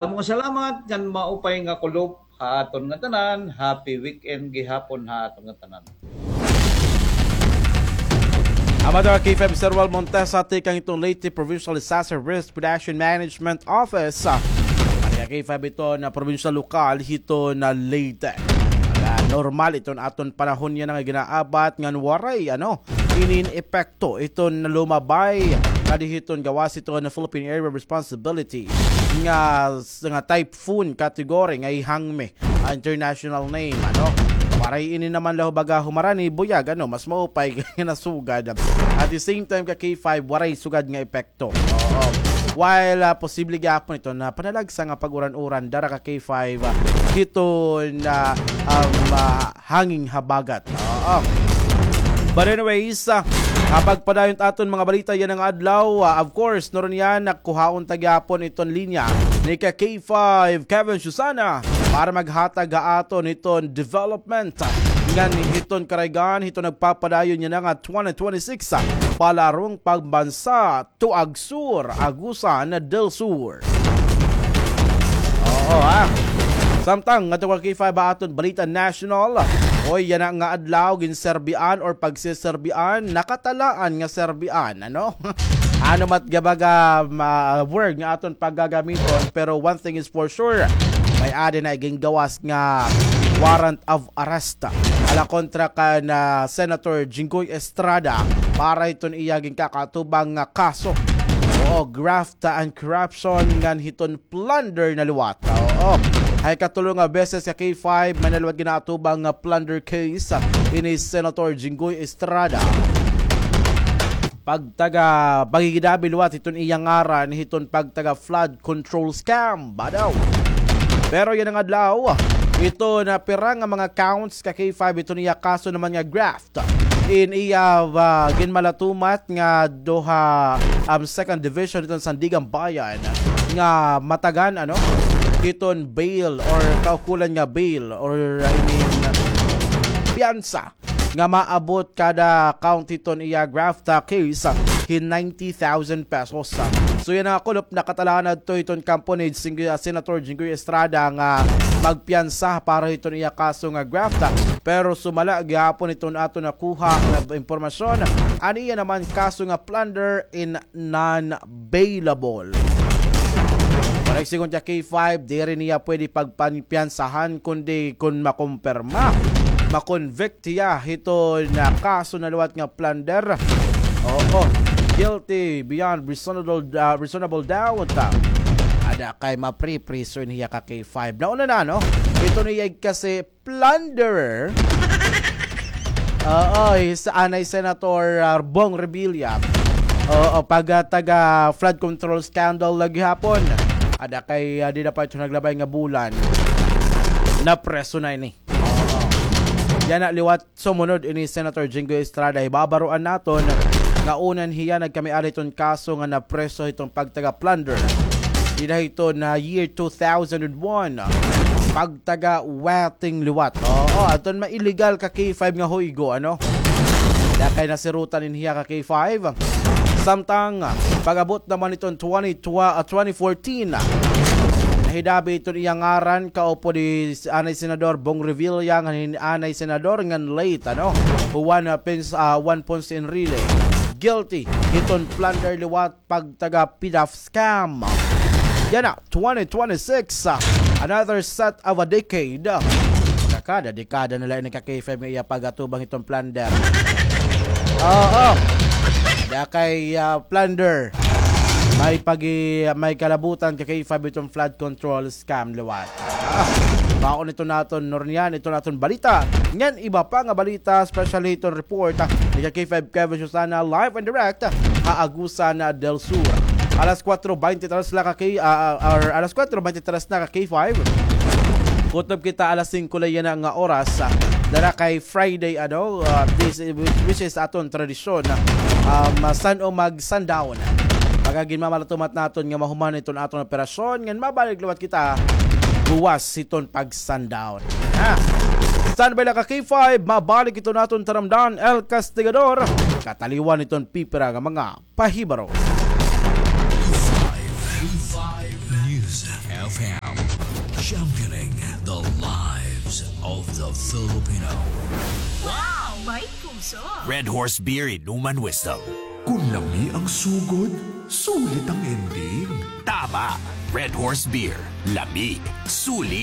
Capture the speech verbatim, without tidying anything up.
Mga salamat ngan maupay nga kulop ha aton nga tanan. Happy weekend gihapon ha aton nga tanan. Amo ito, K five Sir Wal Montesa, tikang iton Leyte Provincial Disaster Risk Reduction Management Office. Ano nga K five ito nga provincial lokal hito nga Leyte. Ah, normal iton aton panahon yana nga ginaabat ngan waray, ano, inin epekto iton lumabay kadi hiton gawas iton Philippine Area of Responsibility nga, nga typhoon category nga Hangmi, ah, international name, ano. Waray ini naman la baga humarani, buyag, ano, mas maupay nga nasugad. At the same time, ka K five, waray sugad nga epekto. Oo. While, ah, posible gihapon ito nga panalagsa nga pag-uran-uran, dara ka K five, ah, hito nga, um, ah, hangin habagat. Oo. But anyways, ah, ah, pagpadayon it aton mga balita yana nga adlaw, ah, of course, nuron yana, kuhaon ta gihapon iton linya ni ka K five, Kevin Susana, para maghatag ha aton hiton development, ah, ngan hiton karuyag hiton nagpapadayon yana nga twenty twenty-six, ah, palarong pambansa to AgSur, Agusan del Sur. Oo, ha. Samtang ngadto ka K five ha aton balita national. Oy, yana nga adlaw, ginserbian or pagseserbian, nakatalaan nga serbian, ano? Ano man it baga, ma-, word nga aton paggagamiton, pero one thing is for sure, may-ada na igingawas nga warrant of arrest ha la kontra kan Senator Jinggoy Estrada para hiton iya ginkakaatubang nga kaso. Oo, graft and corruption ngan hiton plunder na liwat. Oo. Ha ikatulo nga beses ka K five, may-ada na liwat ginaatubang nga plunder case ini Senator Jinggoy Estrada. Pagtaga, paghihidabi liwat hiton iya ngaran hiton pagtaga flood control scam, badaw. Pero yana nga adlaw, ito na pira nga mga counts ka K five, ito niya kaso naman nga graft. In iya, ah, ginmalatumat nga duha, um, second division hiton Sandiganbayan nga matagan, ano, hiton bail or kaukulan nga bail or, I mean, piyansa nga maabot kada count hiton iya graft, ah, case, ah, hin ninety thousand pesos, ah. So yana nga kulop nakatalaan adto hiton kampo ni Sing-, ah, Senator Jinggoy Estrada nga magpiyansa para hiton iya kaso nga graft, ah. Pero sumala gihapon hiton aton nakuha nga impormasyon, an iya naman kaso nga plunder in non-bailable. Para sigon ka K five, diri niya pwede pagpanpiyansahan, kundi kon makumpirma, makonvict hiya hiton kaso na liwat nga plunder. Oo, guilty beyond reasonable, ah, reasonable doubt. Ada kay mapripriso ini hiya ka K five. Nauna na, no? Ito niya kasi plunderer. Oo, hi sa anay Senator, ah, Bong Revilla. Oo, pag, ah, taga flood control scandal la gihapon. Ada kay, ah, dida pa ito naglabay nga bulan. Napreso na ini. Oo. Yana liwat sumunod ini Senator Jinggoy Estrada. Hibabaroan naton nga una hiya nagkamiala hiton kaso nga napreso hiton pagtaga plunder. Dida hiton year two thousand and one. Pagtaga wetting liwat. Oo, aton ma-illegal ka K five nga huygo, ano? Ada kay nasirutan ini hiya ka K five. Samtang, pag-abot naman hiton twenty, twa-, ah, twenty fourteen, nahidabi hiton iya ngaran, kaupod hi anay Senador Bong Revilla, ngan hin anay Senador, ngan late, ano? Juan, ah, Pins-, ah, Juan Ponce Enrile. Guilty hiton plunder liwat pagtaga PDAF scam. Yana, twenty twenty-six, ah, another set of a decade. Kada dekada na la ini ka K five nga iya pag-atubang hiton plunder. Oo. Ada kay, ah, plunder. May pagi-, may kalabutan ka K five hiton flood control scam liwat. Ah, baon ito naton, nuron yana, ito naton balita. Ngan iba pa nga balita, especially iton report, ah, ni ka K five Kevin Susana, live and direct, ah, ha Agusan, ah, del Sur. Alas kuwatro bente tres la ka K-, ah, ah, or alas kuwatro bente tres na ka K five. Kutob kita alas singko la yana nga oras, ah, dara kay Friday, ano, ah, this, which, which is aton tradisyon, ah, um, san-o mag-sundown. Pagka ginmamalatumat naton nga mahuman iton aton operasyon, ngan mabalik liwat kita buwas hiton pag-sundown. Ha? Standby la ka K five, mabalik iton aton taramdan, El Castigador. Kataliwan iton pipira nga mga pahibaro. K five News F M. Championing the lives of the Filipino. Wow! May puso! Red Horse Beer Inuman Wisdom. Kun lami ang sugod, sulit ang ending. Tama! Red Horse Beer. Lami. Sulit.